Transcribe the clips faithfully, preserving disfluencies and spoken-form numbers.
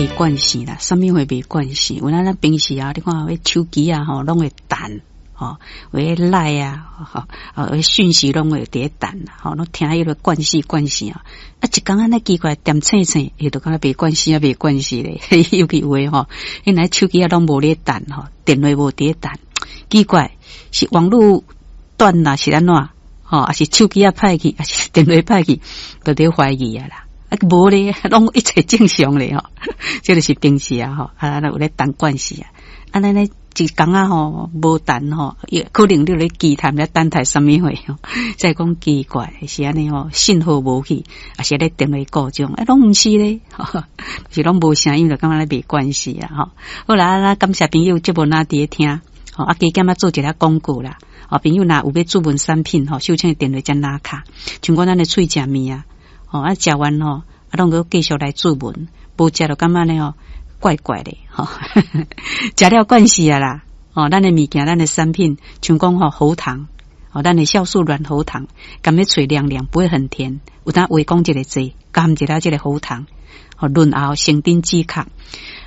袂慣勢啦，啥物會袂慣勢？有咱咱平時啊，你看彼手機啊，吼，攏會彈，吼，有彼 LINE 啊，吼，啊，訊息攏會佇咧彈，吼，攏聽彼个慣勢慣勢啊。啊，一工按呢奇怪，恬醒醒，伊就感覺袂慣勢啊，袂慣勢咧。尤其有的吼，𪜶來手機啊攏無咧彈，吼，電話無佇咧彈，奇怪，是網路斷啦，是按怎？吼，抑是手機仔歹去，抑是電話歹去，就佇懷疑啊啦。啊，無咧，攏一切正常咧吼。這就是平時啊吼，啊，有咧等慣勢啊。按呢呢一工仔吼無彈吼，也可能你咧期盼咧等待啥物貨吼。再講奇怪是按呢吼，信號無去，抑是咧電話故障，啊，攏毋是咧，是攏無聲音，就感覺咧袂慣勢啊吼。好啦，啊，感謝朋友節目若佇咧聽，吼，啊，加減仔做一下廣告啦。哦，朋友若有欲注文產品吼，秀清的電話才拿卡，像講咱的喙食麵啊。吼，啊，食完吼，啊，攏閣繼續來注文，無食就感覺呢吼，怪怪的吼。食了慣勢啊啦，吼，咱的物件，咱的產品，像講吼喉糖，吼，咱的酵素軟喉糖，含咧喙涼涼，不會很甜。有當話講一个濟，含一下這个喉糖，吼，潤喉生津止渴。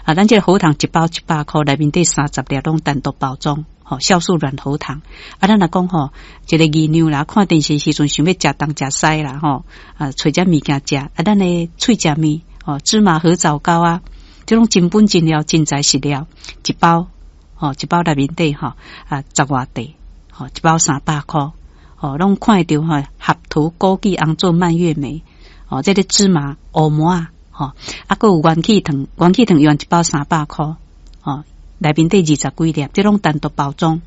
啊，咱這个喉糖一包一百箍，內面底三十粒攏單獨包裝。吼，酵素軟喉糖。啊，咱若講吼，一個姨娘啦，看電視時陣想欲食東食西啦，吼，啊，揣遮物件食。啊，咱的喙食麵，吼，芝麻核棗糕啊，這種真本真料、真材實料，一包，吼，一包內面底吼，啊，十外塊，吼，一包三百箍，吼，攏看會著吼，合桃枸杞紅棗蔓越莓，吼，這个芝麻烏麻仔，吼，啊，閣有元氣糖，元氣糖用一包三百箍，吼。內面底二十幾粒，這攏單獨包裝。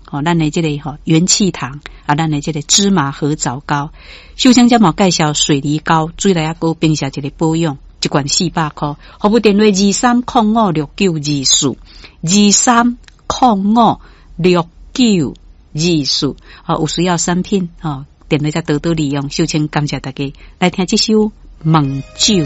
吼，咱的這個吼元氣糖啊，咱的這個芝麻核棗糕，秀清這嘛介紹水梨糕，水內仔閣冰下一個保養，一罐四百箍。服務電話二三空五六九二四，二三空五六九二四。吼，有需要產品吼，電話才多多利用。秀清感謝大家來聽這首《夢酒》。